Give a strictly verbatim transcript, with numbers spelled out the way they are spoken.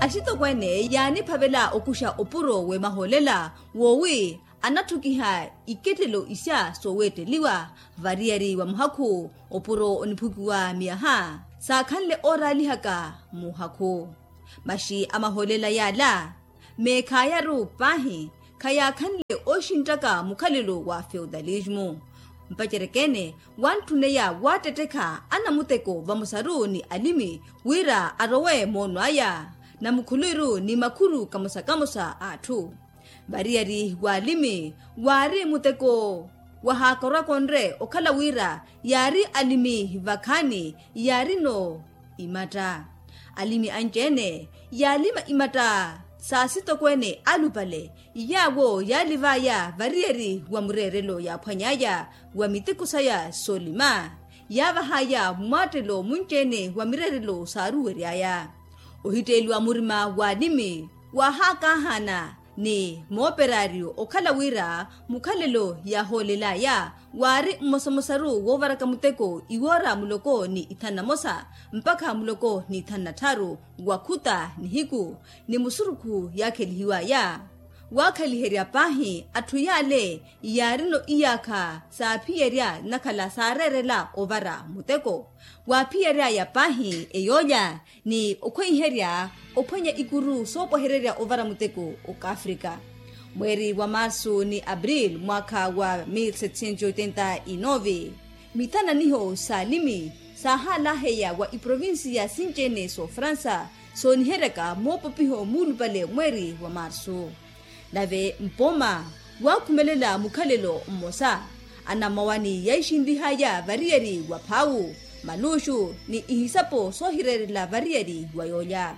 Axitokweene yaaniphavela okuxa opuro w'emahoolela woowi anatthukiha ikettelo isya sooweetteliwa variyari wa muhakhu. Opuro oniphukiwa miyaha saakhanle ooraalihaka muhakhu. Maxi a mahoolela yaala meekhayaru paahi khayaakhanle ooxinttaka mukhalelo wa feutalismu. Mpacereke-ene wantthuneya waattettekha anamuteko vamosaru ni alimi wira arowe moono aya na mukhulwiru ni makhuru kamosa kamosa a atthu. Variyari w'alimi waari muteko wahaakorwaka onre okhala wira yaari alimi vakhaani yaarino imatta. Alimi anci-ene yaalima imatta s'asitokweene alupale yaawo yaaliv'aya variyari wa mureerelo yaaphwany'aya wa miteko saya soolima yaavah'aya mwaattelo munci-ene wa mireerelo saaruwery'aya. Ohitteeliwa murima w'alimi waahaakaahana ni mooperaryu okhala wira mukhalelo yaahoolel'aya waari mmosamosaru woovaraka muteko iwoora muloko ni ithanu na mosa mpakha muloko ni ithanu na tthaaru wa khuta nihiku ni musurukhu yaakhelihiw'aya. Waakhaliherya paahi atthu yaale yaarino iyaakha saaphiyerya nnakhala saareerela ovara muteko waaphiyery'aya paahi eyoolya ni okhweiherya ophwanya ikuru soopwehererya ovara muteko okafrika. Mweeri wa marsu ni april mwaakha wa mil setecientos oitenta y nove mithananiho s'alimi saahalaheya wa iprovinsiya sinci-ene s'ofransa sooniheryaka moopopiho muulupale mweeri wa marsu. Nave mpooma waakhumelela mukhalelo mmosa anamawani yaixinlih'aya variyari wa phaawu maluuxu ni ihisapo soohireerela variyari wa yoolya.